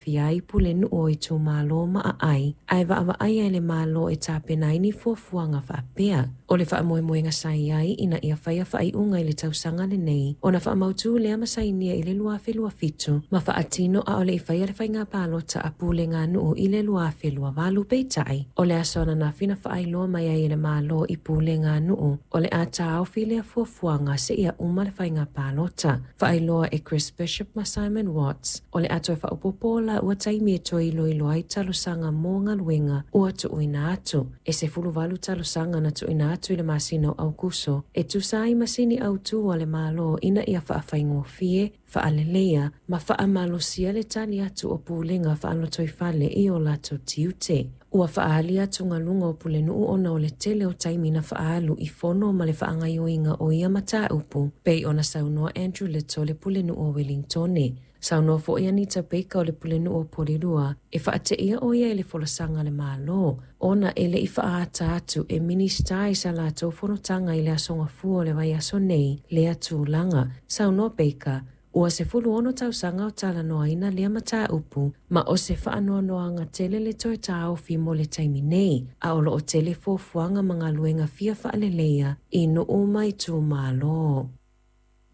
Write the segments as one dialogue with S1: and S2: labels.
S1: Aafia ai pulenuu o itumalo ma aai, ae vaavaaia e le Malo e tapena ai ni fuafuaga faapea. O le faamoemoega sa i ai ina ia faia faaiuga i le tausaga lenei, ona faamautu lea ma sainia i le 2027 ma faatino a o le i faia le faiga palota a puleganuu i le 2028. Peitai, o le aso ananafi na faailoa mai ai e le Malo i puleganuu o le a taofi lea fuafuaga seia uma le faiga palota. Faailoa e Chris Bishop ma Simon Watts, o le a toe faaopoopo laua taimi e toe iloilo ai talosaga mo galuega ua tuuina atu. E 18 talosaga na tuuina atu i le masina o Aukuso e tusa ai ma sini autu a le Malo ina ia faafaigofie, faaleleia ma faamalosia le tali atu o pulega faalotoifale i o latou tiute. Ua faaali atugaluga o pulenuu ona o le tele o taimi na faaalu i fono ma le faagaoioiga o ia mataupu, pei ona saunoa Andrew Little le pulenuu o Wellingtone. Saunoa foi Anita Baker o le pulenuu o Porirua e faateia o ia i le folasaga a le Malo ona e le i faaata atu e Minisita i sa latou fonotaga i le Aso Gafua o le vaiaso nei lea tulaga. Saunoa Baker, ua 16 tausaga o talanoaina lea mataupu ma o se faanoanoaga tele le toe taofi mo le taimi nei, a o loo tele fuafuaga ma galuega fia faaleleia i nuu ma itumalo.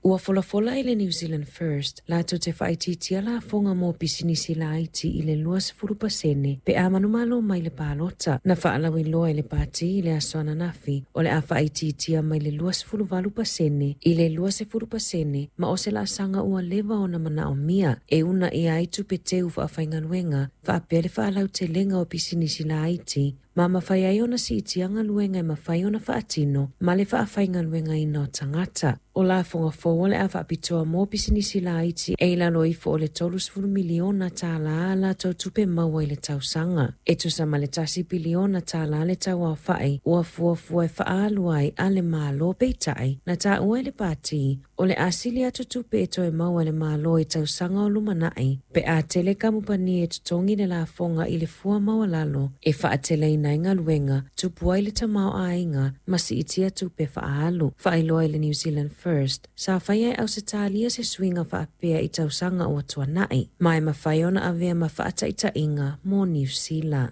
S1: Ua folafola e le New Zealand First latou te faaitiitia lafoga mo pisinisi laiti i le 20% pe a manumalo mai le palota. Na faalauiloa e le pati i le aso ananafi o le a faaitiitia mai le 28% i le 20% ma o se laasaga ua leva ona manaomia e uunaia ai tupe teu faafaigaluega faapea le faalautelega o pisinisi laiti ma mafai ai ona siitia galuega e mafai ona faatino ma le faafaigaluegaina o tagata. O lafoga fou o le a faapitoa mo pisinisi laiti e i lalo ifo o le $30 miliona tālā a latou tupe maua i le tausaga. E tusa ma le $1 piliona tālā le tauaofa'i ua fuafua e faaalu ai a le Malo, peitai na taua e le pati o le a sili atu tupe e toe maua e le Malo i tausaga o lumanai pe a tele kamupani e totogi le lafoga i le fua maualalo e faateleina ai galuega, tupu ai le tamaoaiga ma siitia tupe faaalu. Faailoa e le New Zealand First, sa faia e Ausetalia se suiga faapea i tausaga ua tuanai, ma e mafai ona avea ma faataitaiga mo Niu Sila.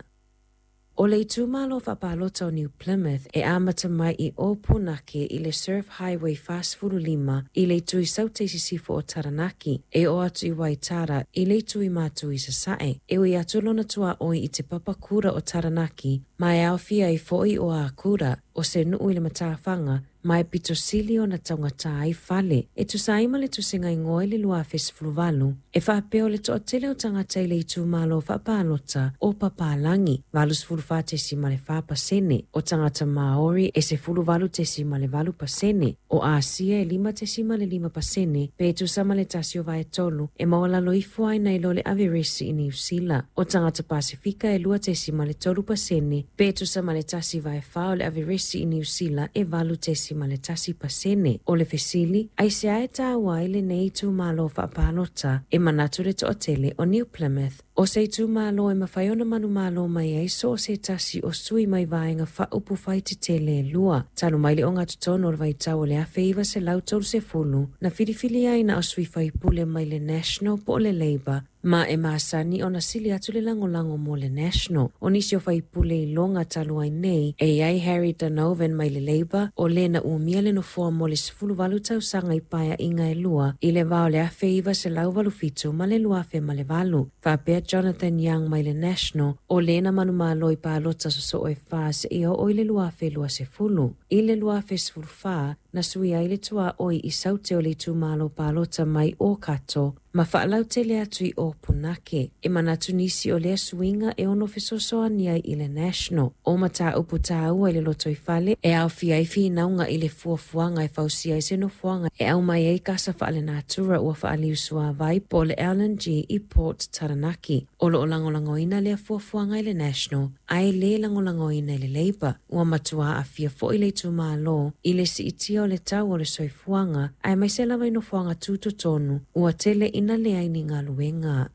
S1: O le itumalo faapalota o New Plymouth e amata mai i Ōpunake i le Surf Highway 45 i le itu i Saute i sisifo o Taranaki, e oo atu i Waitara i le itu i Matu i Sasae. E ui atu lona tuaoi i te papakura o Taranaki, ma e aofia ai foi o Akura, o se nuu i le matafaga, ma e pito sili ona taugata ai fale. E tusa ai ma le tusiga igoa i le 2018, e faapea o le toatele o tagata i le itumalo faapalota o papalagi, 84.4%, o tagata Maori e 18.8%, o Asia e 5.5%, pe tusa ma le 1/3 e maualalo ifo ai nai lo le averesi i Niu Sila. O tagata Pasifika e 2.3%, pe tusa ma le 1/4 o le averesi i Niu Sila e 8.1%. O le fesili, aisea e taua ai lenei itumalo faapalota? E manatu le toatele o New Plymouth o se itumalo e mafai ona manumalo mai ai so o se tasi o sui mai vaega faaupufai tetele e lua. Talu mai le ogatotonu o le vaitau o le 1930, na filifilia ai na o sui faipule mai le National po o le Labour, ma e masani ona sili atu le lagolago mo le National. O nisi o faipule iloga talu ai nei, e i ai Harry Donovan mai le Labour, o le na umia le nofoa mo le 18 tausaga i paeaiga e lua i le va o le 1987 ma le 2008, faapea Jonathan Young mai le National, o le na manumalo i palota sosoo e fa seia oo i le 2020. I le 2014, na suia ai le tuaoi i Saute o le itumalo palota mai Ōkato ma faalautele atu i Ōpunake. E manatu nisi o lea suiga e ono fesoasoani ai i le National. O mataupu taua i le lotoifale e aofia ai finauga i le fuafuaga e fausia ai se nofoaga e aumai ai kasa faalenatura ua faaliusuāvai po o le LNG i Port Taranaki. O loo lagolagoina lea fuafuaga e le National, ae lē lagolagoina e le Labour. Ua matua aafia foi le itumalo i le siitia o le tau o le soifuaga, aemaise lava i nofoaga tutotonu ua tele ina leai ni galuega.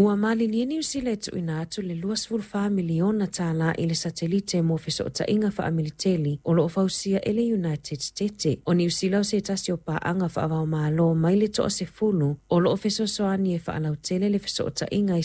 S1: Ua malilie Niu Sila e tuuina atu le $24 miliona tālā i le satelite mo fesootaiga faamiliteli o loo fausia e le United States. O Niu Sila o se tasi o paaga faavaomalo mai le 10 o loo fesoasoani e faalautele le fesootaiga i